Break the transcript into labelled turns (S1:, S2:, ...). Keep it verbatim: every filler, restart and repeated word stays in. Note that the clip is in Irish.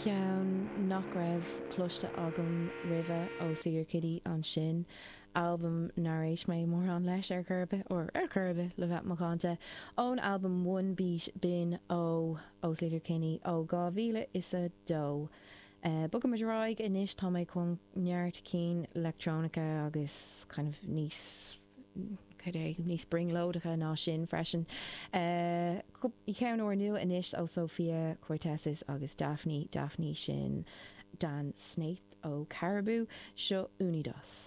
S1: Ceann nach raibh cloiste agam roimhe ó Sleater-Kinney ansin, albam nár éist mé mórán leis ar chor ar bith or ar chor ar bith le bheith macánta ón albam One Beat b'in ó ó Sleater-Kinney ó dhá mhíle is a dó. Uh, Bogaimid ar aghaidh anois tá mé chun neart cinn leictreonacha agus kind of níos é níos brionglóideacha ná sin freisin. Uh, ceann úrnua anois ó Sofia Kourtesis agus Daphni Daphni sin Dan Snaith ó Caribou seo Unidos.